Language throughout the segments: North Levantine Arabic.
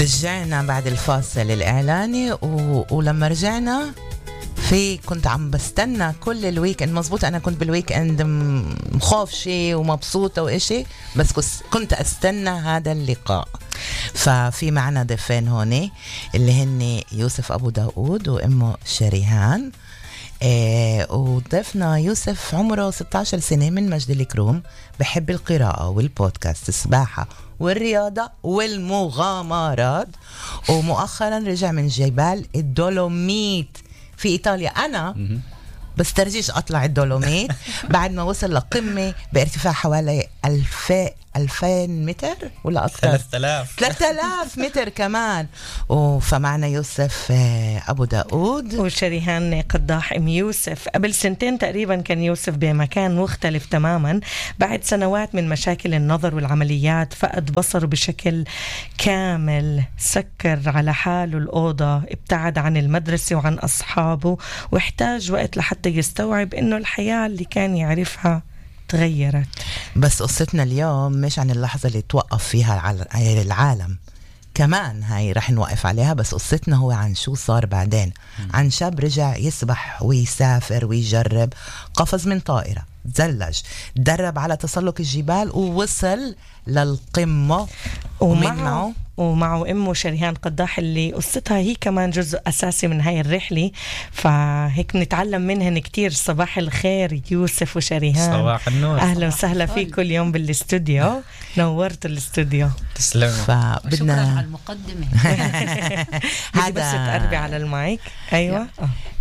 رجعنا بعد الفاصل الإعلاني ولما رجعنا كنت عم بستنى كل الويك اند. مزبوط أنا كنت بالويك اند مخافشة ومبسوطة وإشي، بس كنت أستنى هذا اللقاء. ففي معنا ضيفين هوني اللي هن يوسف أبو داود وأمه شريهان. وضيفنا يوسف عمره 16 سنة من مجد الكروم، بحب القراءة والبودكاست، السباحة والرياضة والمغامرات، ومؤخرا رجع من جبال الدولوميت في إيطاليا. أنا بسترجيش أطلع الدولوميت بعد ما وصل لقمة بارتفاع حوالي 2000 متر ولا أكثر، 3000 متر كمان. فمعنا يوسف أبو داود وشريهان قداح. أم يوسف قبل سنتين تقريبا كان يوسف بمكان مختلف تماما بعد سنوات من مشاكل النظر والعمليات، فقد بصر بشكل كامل، سكر على حاله الأوضة، ابتعد عن المدرسة وعن أصحابه، واحتاج وقت لحتى يستوعب إنه الحياة اللي كان يعرفها تغيرت. بس قصتنا اليوم مش عن اللحظة اللي توقف فيها العالم، كمان هاي رح نوقف عليها، بس قصتنا هو عن شو صار بعدين. عن شاب رجع يسبح ويسافر ويجرب، قفز من طائرة، تزلج، درب على تسلق الجبال ووصل للقمة، ومعه أمه شريهان قداح اللي قصتها هي كمان جزء أساسي من هاي الرحلة، فهيك نتعلم منهن كتير. صباح الخير يوسف وشريهان. صباح النور. أهلا وسهلا فيكم اليوم بالاستوديو، نورت الاستوديو. تسلم. شكرا على المقدمة. هذا بس تقربي على المايك. أيوة.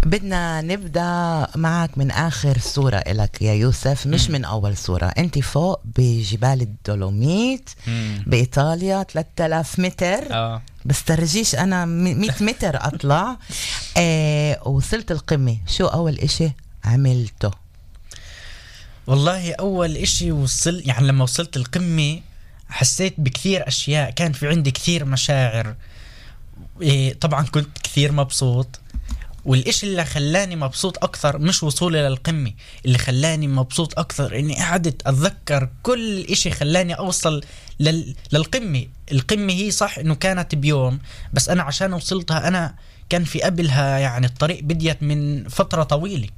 بدنا نبدأ معك من آخر صورة إلك يا يوسف، مش من أول صورة. أنت فوق بجبال الدولوميت بإيطاليا 3000 متر. بس ترجيش أنا 100 متر أطلع. وصلت القمة، شو أول إشي عملته؟ والله أول إشي يعني لما وصلت القمة حسيت بكثير أشياء، كان في عندي كثير مشاعر. طبعا كنت كثير مبسوط، والإشي اللي خلاني مبسوط أكثر مش وصولي للقمة، اللي خلاني مبسوط أكثر إني قعدت أتذكر كل إشي خلاني أوصل للقمة. القمة هي صح إنه كانت بيوم، بس أنا عشان وصلتها أنا كان في قبلها يعني الطريق بديت من فترة طويلة،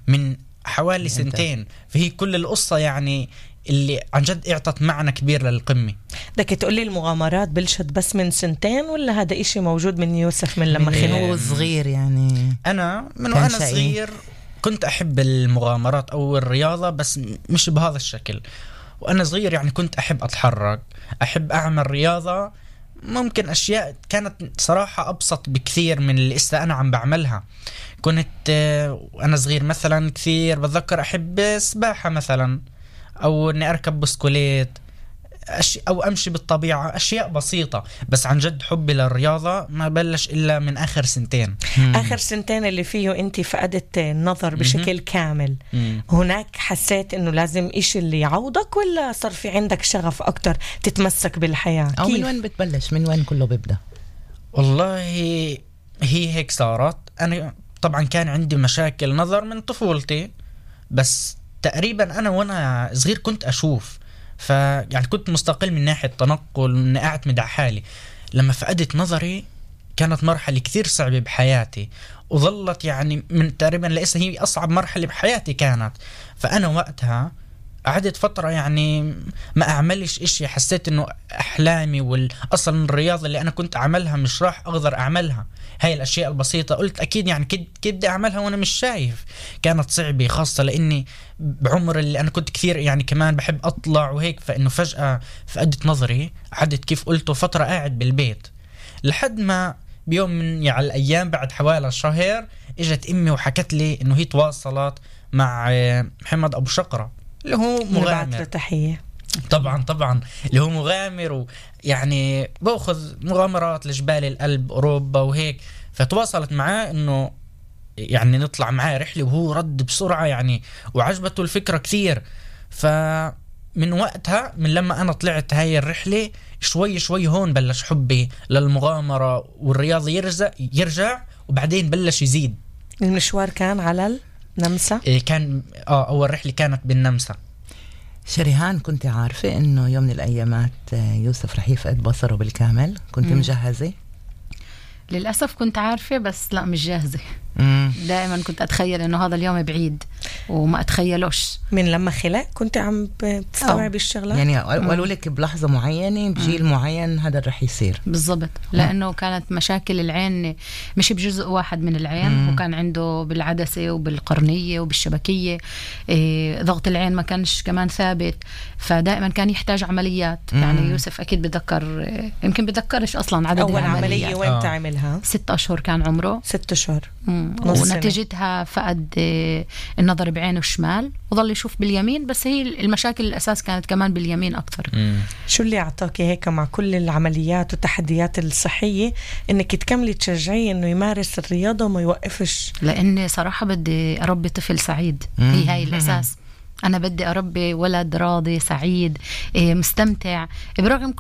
من حوالي سنتين. فهي كل القصة يعني اللي عن جد اعطت معنى كبير للقمة. بدك تقولي المغامرات بلشت بس من سنتين، ولا هذا إشي موجود من يوسف من لما هو صغير؟ يعني أنا من وأنا صغير كنت أحب المغامرات أو الرياضة، بس مش بهذا الشكل. وأنا صغير يعني كنت أحب أتحرك، أحب أعمل رياضة. ممكن أشياء كانت صراحة أبسط بكثير من اللي أنا عم بعملها. كنت وأنا صغير مثلا كثير بتذكر أحب السباحة مثلا، أو أني أركب بسكوليت، أو أمشي بالطبيعة، أشياء بسيطة. بس عن جد حبي للرياضة ما بلش إلا من آخر سنتين. آخر سنتين اللي فيه أنت فقدت النظر بشكل كامل. هناك حسيت إنه لازم إشي اللي يعوضك، ولا صار في عندك شغف أكتر تتمسك بالحياة؟ أو من وين بتبلش؟ من وين كله بيبدأ؟ والله هي هيك صارت. أنا طبعا كان عندي مشاكل نظر من طفولتي، بس تقريبا أنا وأنا صغير كنت أشوف، يعني كنت مستقل من ناحية تنقل، من أعتمد على حالي. لما فقدت نظري كانت مرحلة كثير صعبة بحياتي، وظلت يعني من تقريبا لسه هي أصعب مرحلة بحياتي كانت. فأنا وقتها قعدت فترة يعني ما أعملش إشي. حسيت إنه أحلامي والأصل الرياضة اللي أنا كنت أعملها مش راح أقدر أعملها. هاي الأشياء البسيطة قلت أكيد يعني كيف بدي أعملها وأنا مش شايف. كانت صعبة، خاصة لأني بعمر اللي أنا كنت كثير يعني كمان بحب أطلع وهيك. فإنه فجأة فقدت نظري، قعدت كيف قلت فترة قاعد بالبيت، لحد ما بيوم من على الأيام بعد حوالي شهر إجت أمي وحكت لي إنه هي تواصلت مع محمد أبو شقرة اللي هو مغامر. تحية. طبعا اللي هو مغامر، ويعني باخذ مغامرات لجبال الألب أوروبا وهيك. فتواصلت معاه إنه يعني نطلع معاه رحلة، وهو رد بسرعة يعني وعجبته الفكرة كثير. فمن وقتها، من لما أنا طلعت هاي الرحلة، شوي هون بلش حبي للمغامرة والرياضة يرجع وبعدين بلش يزيد. المشوار كان على النمسا؟ كان أول رحلة كانت بالنمسا. شريهان، كنت عارفة إنه يوم من الأيامات يوسف رح يفقد بصره بالكامل؟ كنت مجهزة؟ للأسف كنت عارفة، بس لا مش جاهزة. دائما كنت أتخيل إنه هذا اليوم بعيد وما أتخيلوش. من لما خلق كنت عم بتستوعب الشغلات؟ يعني قالوا لك بلحظة معينة بجيل معين هذا رح يصير؟ بالضبط، لأنه كانت مشاكل العين مش بجزء واحد من العين، وكان عنده بالعدسة وبالقرنية وبالشبكية. ضغط العين ما كانش كمان ثابت، فدائما كان يحتاج عمليات. يعني يوسف أكيد بذكر، يمكن بذكرش أصلا عدد أول عملية وين تعملها؟ 6 أشهر كان عمره. 6 أشهر. ونتيجتها فقد النظر بعينه الشمال وظل يشوف باليمين، بس هي المشاكل الأساس كانت كمان باليمين أكثر. شو اللي أعطاكي هيك مع كل العمليات والتحديات الصحية إنك تكملي تشجعيه إنه يمارس الرياضة وما يوقفش؟ لأني صراحة بدي أربي طفل سعيد. هي هاي الأساس. أنا بدي أربي ولد راضي سعيد مستمتع برغم